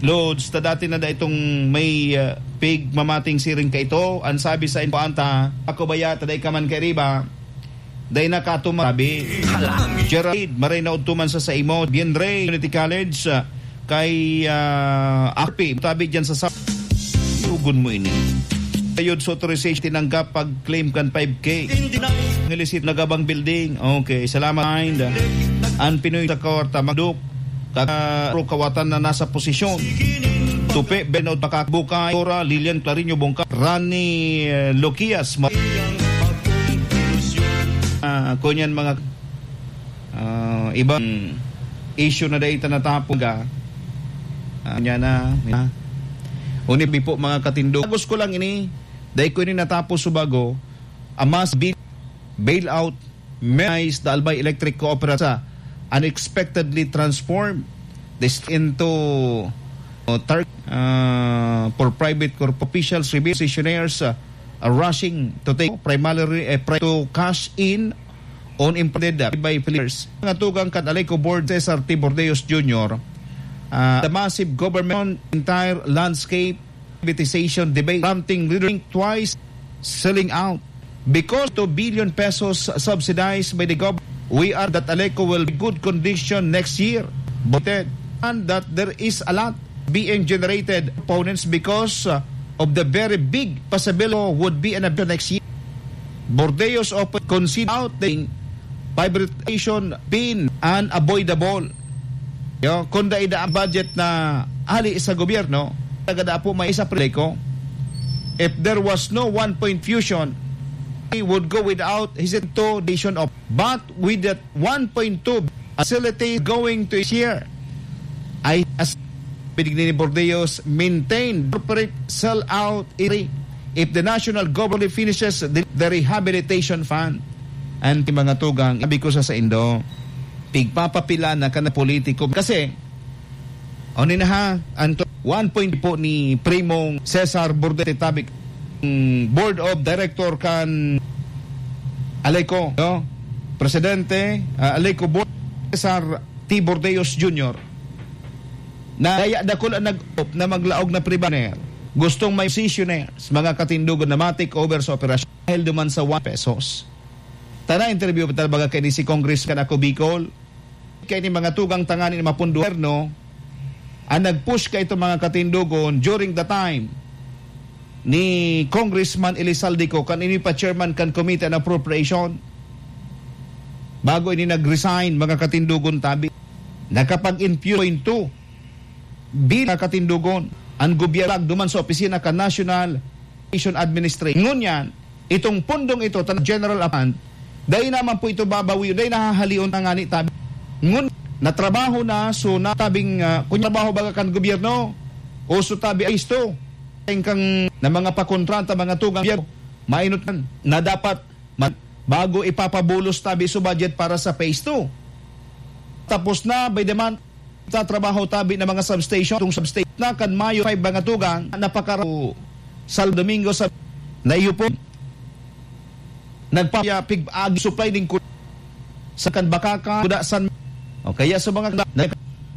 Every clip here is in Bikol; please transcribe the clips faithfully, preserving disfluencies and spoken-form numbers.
Loads, ta dati na da itong may, ah, pig mamating siring ka ito. Ang sabi sa info anta, ako baya, taday ka man kay riba, day na ka tumabi. Gerald, maray na udto man sa saimo. Bien Rey, Community College, ah, kay, ah, Akpi, tabi dyan sa sa-, yugon mo ini. Ayod sa authorization tinanggap pag-claim kan five K. Ngilisit nagabang building. Okay, salamat. Mind. Ang Pinoy sa kwarta, magduk. Kaka-, kawatan na nasa posisyon. Tupi, Bernard Pakakbukay, Tora, Lilian Clarinho Bongka, Rani, eh, Loquias, ma-, ah, kunyan mga, ah, ibang issue na dahil natapos ka. Ah, niya na, ah. Unib po mga katindog. Agos ko lang ini, dahil ko ini natapos sa bago, amas bi-, bailout, Maize, the Albay Electric Cooperative unexpectedly transformed this into, uh, tar-, uh, for private corp-, officials, revenue positioners, uh, are rushing to take primarily, uh, pri-, to cash in on imported, uh, by players. Mga tugang kan Aleco Board, Cesar T. Bordeos Junior, uh, the massive government entire landscape privatization debate, prompting leaders to think twice selling out. Because two billion pesos subsidized by the government, we are that Aleco will be good condition next year. But, and that there is a lot being generated opponents because, uh, of the very big possibility would be an event next year. Bordeos often consider out the privatization being unavoidable. Yo, kung dai da ang budget na hali sa gobyerno, tagada po may isa pre ko. If there was no one point fusion, we would go without hesitation of. But with that one point two facility going to share, I as Pidigni ni Bordeos, maintain corporate sell out if the national government finishes the, the rehabilitation fund. And mga tugang, sabi ko sa saindo, pigpapapila na ka na politiko. Kasi, ano na ha, ang to-, one point po ni Primong Cesar Bordete Tabik, mm, Board of Director kan Aleco, no? Presidente, ah, Aleco Board, Cesar T. Bordeos Junior, na kaya dakul ang nag-op na maglaog na pribaner. Gustong may positioners, mga katindugon na matik over sa operasyon dahil duman sa one pesos. Tana interview pa talaga kay ni si Congressman Ako Bicol. Kay ni mga tugang tangani ni mapunduerno, ang nag-push kay itong mga katindugon during the time ni Congressman Elizalde Co, kan ini pa chairman kan Committee on Appropriation. Bago ini nag-resign, mga katindugon tabi. Nakapag-infuse into bill, mga katindugon, ang gobyerno duman sa opisina kan National Education Administration. Ngunyan, itong pundong ito, tan-, general fund, dai naman po ito babawi, dai nahahalion na ngani tabi. Ngun, natrabaho na, so natabing, ah, kung trabaho baga kan gobyerno, o so tabi ay isto, kang na mga pakontrata, mga tugang gobyerno, mainot na, na dapat ma-, bago ipapabulos tabi so budget para sa phase two. Tapos na, by the month, tatrabaho tabi na mga substation. Itong substation na kan Mayo five mga tugang, napakara-, Sal Domingo sa naiyo po. Nagpapapig-agi supply din ku-, sa kan Bakakan, Kuda, San, o kaya sa mga na-,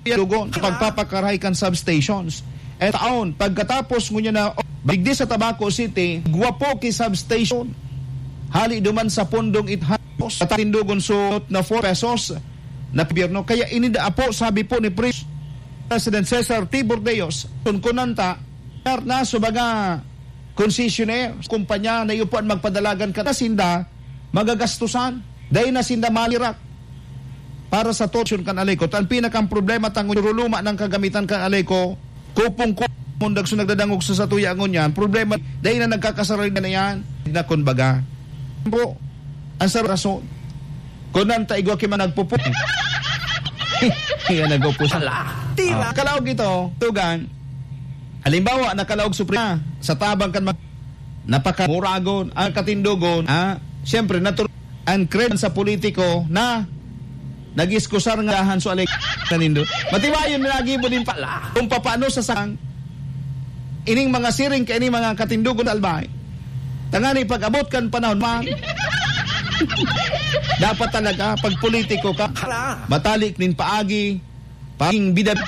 dugon, pagpapakarahay kan substations. E taon, pagkatapos ngunyan na, oh, digdi sa Tabaco City, gwapo ki substation. Hali duman sa pundong it-, sa Tatindugon Suot na four pesos na gobyerno. Kaya inida po, sabi po ni Pre-, President Cesar T. Bordeos, kun kunanta, na sa mga concessionaire, kumpanya na iyo po ang magpadalagan ka na sinda, magagastusan. Dahil na sinda malirak para sa torsion kan Aleco. Ang pinakang problema, tanguruluma ng kagamitan kan Aleco, kupong-kupong, mundag so nagdadangog sa satuya ngunyan. Problema, dahil na nagkakasarili na yan. Na kun baga. Bro, ang sa rason. Kung nang taigwa ki man nagpupo. Kaya nagpupo siya. Ala, tira. Ah, kalaog ito, tugang. Halimbawa, nakalaog suprema sa tabang kan mag-, napakamuragon, ang katindogon, ah, siyempre, natur-, ang kred sa politiko na nag-iskusar nga dahan so alek-, kanindo. Matibayon na nagibo din pala kung papaano sa sang ining mga siring kay ining mga katindogon sa Albay. Tangani pag-abot kan panahon man, dapat talaga, pag politiko ka, matalik nin paagi, paging bida,